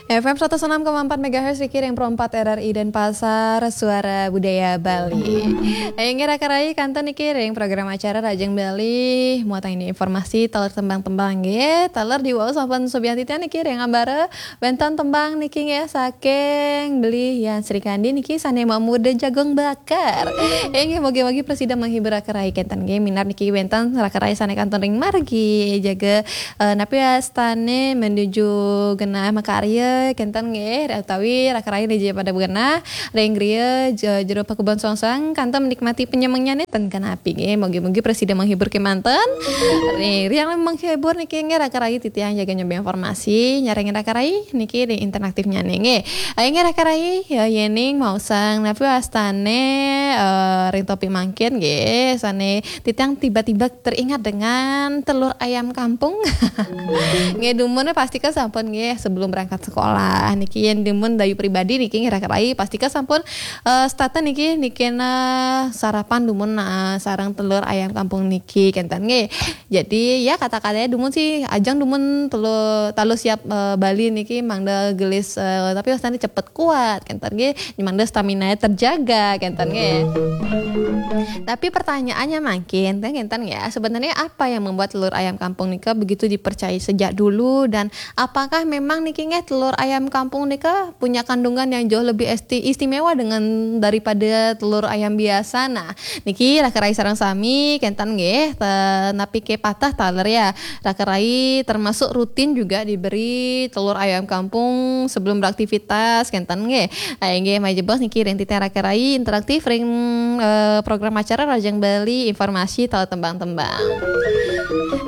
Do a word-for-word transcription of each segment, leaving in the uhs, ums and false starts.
F M seratus enam koma empat megahertz, niki ring Pro empat R R I Denpasar, Suara Budaya Bali. Inggih raka rayi, kantun niki ring program acara Rajeng Bali, muatan ini informasi taler tembang-tembang nggih, taler diwau sampun subiang titiang niki ring ambara wénten tembang niki nggih saking Beli Yan Srikandi niki sané mamuda jagung bakar. Inggih, mugi-mugi prasida menghibur raka rayi kantun nggih, minab niki wénten raka rayi sané kantun ring margi jaga eh, napi wastané menuju genah makarya kantun nggih, utawi raka rayi niki pada genah ring griya je-, jero pakubon songsang kantun menikmati penyemengnya nih ten kenapi nggih. Mugi-mugi prasida menghibur kemanten. Nih, yang menghibur niki nggih raka rayi titiang jaga nyambi informasi, nyarengin raka rayi niki di interaktifnya nih nggih. Ayo nggih raka rayi, ya, yéning maosang napi wastané eh, ring topik mangkin nggih, sané titiang tiba-tiba teringat dengan telur ayam kampung. Nggih, dumun pastika sampun nggih sebelum berangkat sekolah. Niki yén dumun dayu pribadi niki nggih raka rayi pastika sampun eh, setata niki niki nah sarapan dumun nah sareng telur ayam kampung niki kantun nggih. Jadi ya kata-katanya dumun sih ajang dumun telur talu siap eh, Bali niki mangda gelis eh, tapi wastané cepet kuat kantun nggih. Mangda stamina terjaga kantun nggih. Tapi pertanyaannya mangkin, kan kantun ya, sebenarnya apa yang membuat telur ayam kampung nika begitu dipercayai sejak dulu dan apakah memang niki nggih telur ayam kampung nika punya kandungan yang jauh lebih esti-, istimewa dengan daripada telur ayam biasa? Nah, niki raka rayi sareng sami kantun nggih, te-, napi ké patah taler ya. Raka rayi termasuk rutin juga diberi telur ayam kampung sebelum beraktivitas kantun nggih. Ah, inggih, malih jebos niki ring titiang raka rayi interaktif ring eh, program acara Rajeng Bali informasi taler tembang-tembang.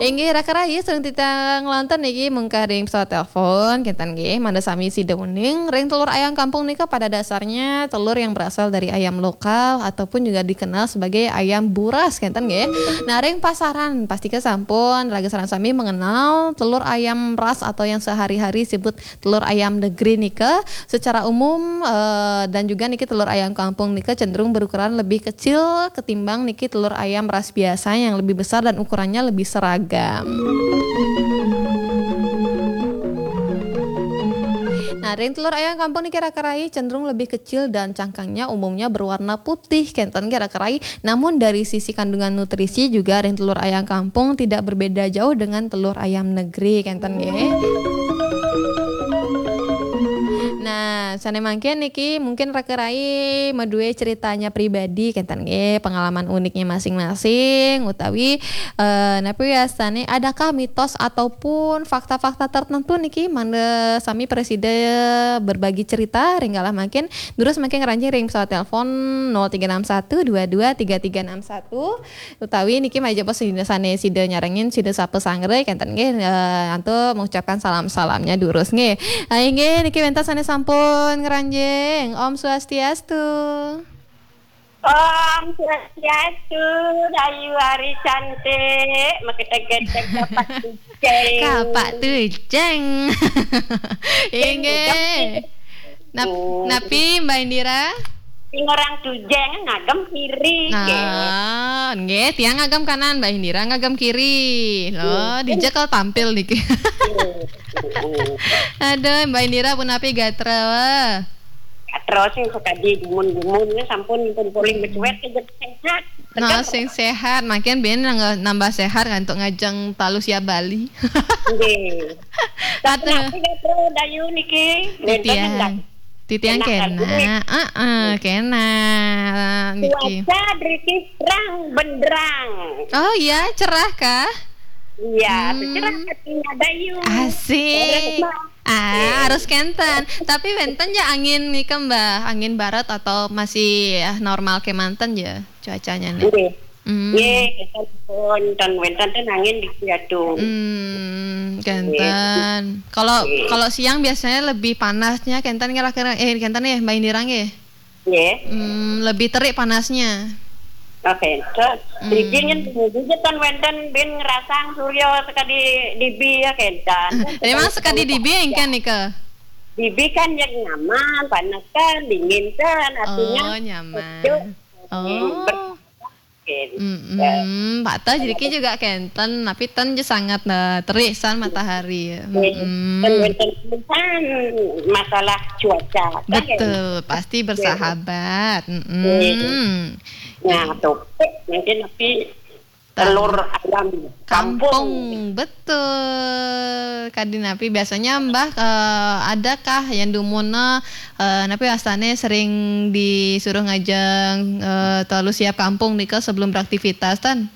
Inggih raka rayi sareng titiang nglantur niki mungkah ring pesawat telepon kantun nggih, mangda sami sida uning ring telur ayam kampung nika pada dasarnya telur yang berasal dari ayam lokal ataupun juga dikenal sebagai ayam buras kantun nggih. Nah ring pasaran pastika sampun raga sareng sami mengenal telur ayam ras atau yang sehari-hari sebut telur ayam negeri nika secara umum eh, dan juga niki telur ayam kampung nika cenderung berukuran lebih kecil ketimbang niki telur ayam ras biasa yang lebih besar dan ukurannya lebih seragam. Nah, ring telur ayam kampung niki raka rayi cenderung lebih kecil dan cangkangnya umumnya berwarna putih kantun nggih raka rayi. Namun dari sisi kandungan nutrisi juga ring telur ayam kampung tidak berbeda jauh dengan telur ayam negeri kantun nggih. Nah, sané mangkin niki mungkin raka rayi madué ceritanya pribadi kantun nggih, pengalaman uniknya masing-masing utawi eh, napi wastané adakah mitos ataupun fakta-fakta tertentu niki mangda sami prasida berbagi cerita ring galah mangkin, durus mangkin ngranjing ring pesawat telepon nol tiga enam satu dua dua tiga tiga enam satu. Utawi niki malih jebos sida sané sida nyarengin sida sapa sanggra kantun nggih eh, antuk mengucapkan salam-salamnya durus nggih. Ayo nggih niki wénten sané sampun ngranjing. Om Swastiastu. Om Swastiastu, Dayu Ari Cantik, maketek-ketek dapat kucing. Kapak tuceng. Inggih. Nap-, napi Mbak Indira? Sing orang tujeng ngagem kiri. Nah, nggih, tiang ngagem kanan, Mbak Indira ngagem kiri. Loh, hmm, dija kal tampil niki. Hmm, hmm. Aduh, Mbak Indira punapi gatra? Gatra sing sakadi dumun-dumun, sampun pun polih becuet, sehat. Nah, sing sehat, makin bin nambah sehat kan untuk ngajeng talu siap Bali. Nggih. Tapi napi gatra Dayu niki? Titiang. Titiang kena. Heeh, kena. Niki. Cuaca driki terang benderang. Oh iya, cerah kah? Iya, hmm, cerah katanya Dayu. Asik. Ah, harus kenten. Tapi wénten ya angin nika, Mbak, angin barat atau masih ya, normal kemanten ya cuacanya nih? Nggih. Hmm. Nggih, kita pun tan wénten ten angin di Ciatung. Hmm, kenten. Kalau, kalau siang biasanya lebih panasnya kenten kira-kira eh kenten ya Mbak Indira nggih? Nggih. Hmm, lebih terik panasnya. Oh, kenten. Hmm. Driki nyen juga tan wénten bin ngerasang surya sekadi dibi ya kenten. Memang sekadi dibi engken nika? Dibi kan yang nyaman, panas kan, dingin kan, artinya. Oh, nyaman. Oh. Mm-mm. Pateh jadi juga kenten, tapi ten je sangat, eh, terik san matahari. Mm-mm. Ten wenten pisan masalah cuaca, kan? Betul, pasti bersahabat. Mm-mm. Nah, topik mungkin tapi telur ayam kampung. Kampung, betul. Kadi napi biasanya Mbah, eh, adakah yang dumunna, eh, napi astane sering disuruh ngajeng, eh, telur siap kampung nika sebelum beraktivitas, tan?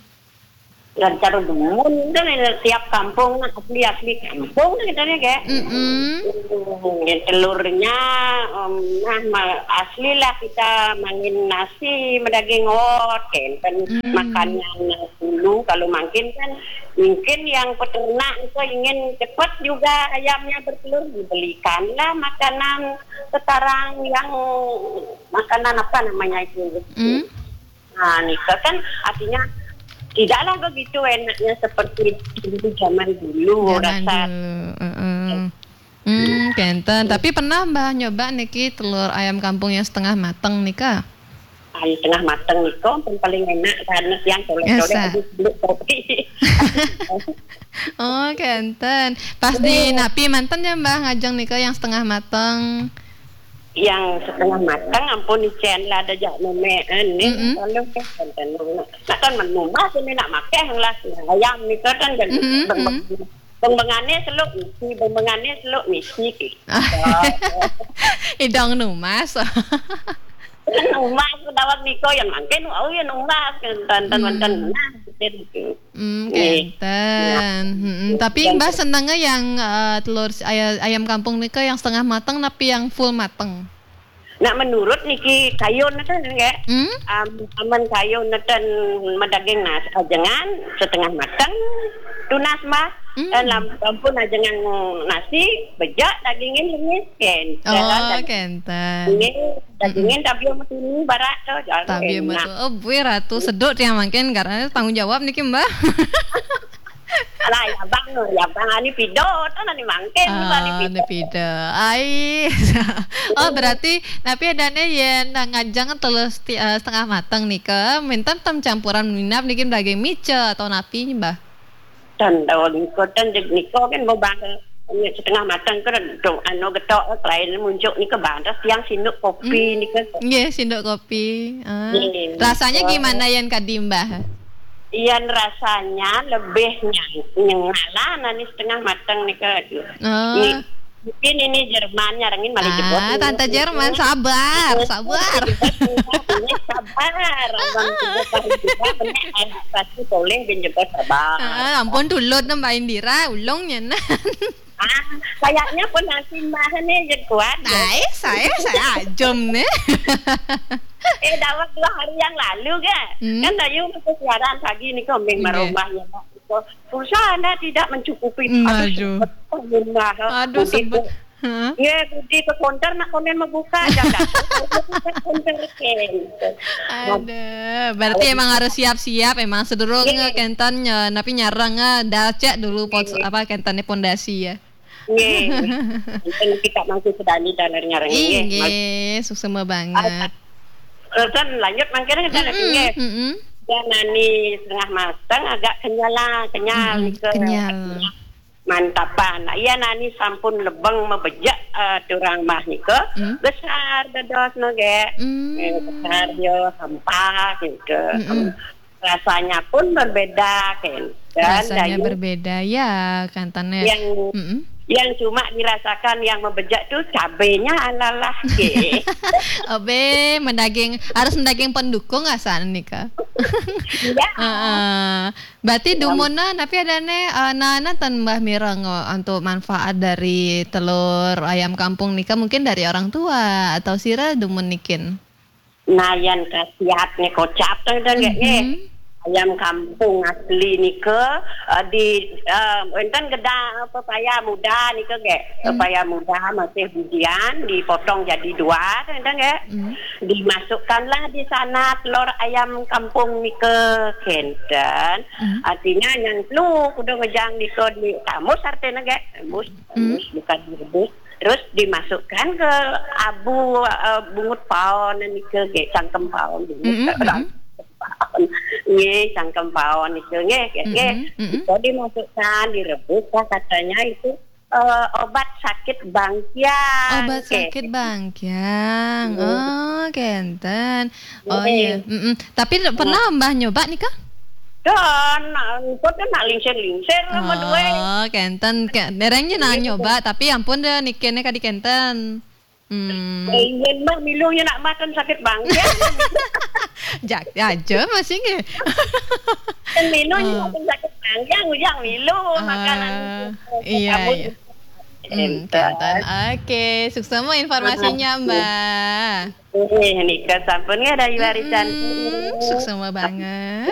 Dan cara dumun kan, eh, tiap kampung asli-asli kampung kan kita nih, kayak. Mm-mm. Hmm, ya, telurnya, em, nah, ma-, asli lah kita mangin nasi, madaging ot, kenten. Hmm. Makanan dulu kalau mangkin kan, mungkin yang peternak itu ingin cepat juga ayamnya bertelur, dibelikanlah makanan sekarang yang makanan apa namanya itu. Hmm. Nah, nika kan artinya tidaklah begitu enaknya seperti dulu, zaman dulu. Zaman rasa dulu, heeh. Hmm, kenten. Tapi pernah Mbah nyoba niki telur ayam kampung yang setengah mateng nika? Yang setengah mateng nika pun paling enak karena yang colek-colek. Biasa. Habis beli kopi. Oh, kenten. Pas di napi manten ya Mbah ngajeng nika yang setengah mateng? Yang setengah mateng ampun icen lah ada jak memean nih. Mm-mm. Kalau kenten. Nah, kan menumah sini nak makan lah ayam nika kan, mm-mm, beng-, mm-mm. Beng-bengane seluk misi, beng-bengane seluk misi gitu. Idong numas. Numas dawat niko yang mangkin, wau yang numas, kenten, kenten. Hmm. Nah, gitu. Hmm, kenten. Tapi Mbah senengnya yang, eh, telur si-, aya-, ayam kampung nika yang setengah mateng, tapi yang full mateng? Nak menurut niki kayun neten, nggih. Hmm? Am-, amun kayun neten madaging nas-, ajengan setengah mateng, tunas, Mbah. Hmm. Eh, lam-, ampun ajengan nasi, bejak dagingin lemis, kenten. Oh, kenten. Nggih, dagingin tabiu matunu barak to, jar. Tabiu enak. Matunu. Oh, bui Ratu seduk tiang mangkin karena tanggung jawab niki, Mbah. Alah, ya bang, ya bang, ani pido, to nani mangkin, ah, ani pido. Ani pido. Ai. Oh, berarti, tapi adanya yen ngajeng telur seti-, eh, setengah mateng nika, minten tem campuran minap niki daging mica atau napi, Mbah? Ten, tahu niko, ten, niko kan mau bang, setengah mateng kan, anu getok, lain muncuk niko bang, terus yang sinduk kopi niko. Nggih, sinduk kopi. Ah. Nggih. Rasanya gimana yen kadi, Mbah? Iyan rasanya lebih nyang-, nyengalah nani setengah mateng nika, aduh. Oh. Ni, mungkin ini Jerman nyarengin malih jebos. Ah, Tante Jerman, sabar, sabar. Ini sabar, abang juga paling juga, benar, pasti boleh bin jebos sabar. Ah, ampun, tulud Mbak Indira, ulung nyenan. Ah, kayaknya pun nanti Mbah ni je kuat, ya. Ai, saya, saya ajum ni. Eh, dah dua hari yang lalu ke? Hmm. Kan tadi masih siaran pagi ni, kau main marumah ya, Mak. Pulsa anda tidak mencukupi. Hmm, aduh. Aduh, sebut. Aduh, sebut. Hah? Ya, budi ke konter nak konen membuka aja dah. Konter, kan. Ada. Berarti emang harus siap-siap, emang sedurung kenten, eh, napi nyarang, eh, dah cek dulu pos-, apa, kenten ni pondasi ya. Nggih. Mungkin kita masih sedani dan nyarang, nggih. Nggih, suksma banget. Terus lanjut mangkene kita lagi, nggih. Mm-mm. Ya, nani setengah mateng agak kenyal lah, kenyal nika. Kenyal. Mantapan. Iya, nani sampun lebeng mebejek, eh, turang mah nika. Besar dados no, nggih. Eh, besar dia, hampa gitu. Rasanya pun berbeda, kan. Dan rasanya berbeda, ya, kenten. Yang, yang cuma dirasakan yang membejek tu cabenya alalah, ke. Obe, mendaging, harus mendaging pendukung asan nika. Ya. Heeh. Berarti dumunna, tapi adanya, eh, nana tan Mbah mireng, eh, untuk manfaat dari telur ayam kampung nika mungkin dari orang tua atau sira dumun nikin? Nah, yan khasiatnya kocap tu, tu, nggih, nggih. Ayam kampung asli nika, eh, di, eh, enten geda pepaya muda nika, nggih. Pepaya muda masih bijian, dipotong jadi dua, tu, enten, nggih. Dimasukkanlah di sana telur ayam kampung nika, kenten. Artinya yang lu kudu ngejang nika di kamus artinya, nggih. Kamus, kamus, bukan direbus. Terus dimasukkan ke abu, eh, bungut paon nika, nggih, cangkem paon bungut. Paon. Nggih, cangkem paon itu nggih, nggih. Mm-mm, mm-mm. Itu dimasukkan, direbus lah katanya itu eh, obat sakit bangkiang. Obat sakit bangkiang. Oh, kenten. Oh iya. Mm-mm. Tapi pernah Mbah nyoba nih kah? Don, kok nak lingsir-lingsir sama dua. Oh, kenten. Derengnya nak nyoba, tapi ampun deh nikene kadi kenten. Hmm. Ingin mah milu nak makan sakit bangkiang. Jak aja masih nggih. Kan milu makan sakit bangkiang, ujang milu makanan. Iya, iya. Hmm, kenten. Oke, suksema informasinya, Mbak. Eh, nika sampun nggih dari warisan. Hmm, suksema banget.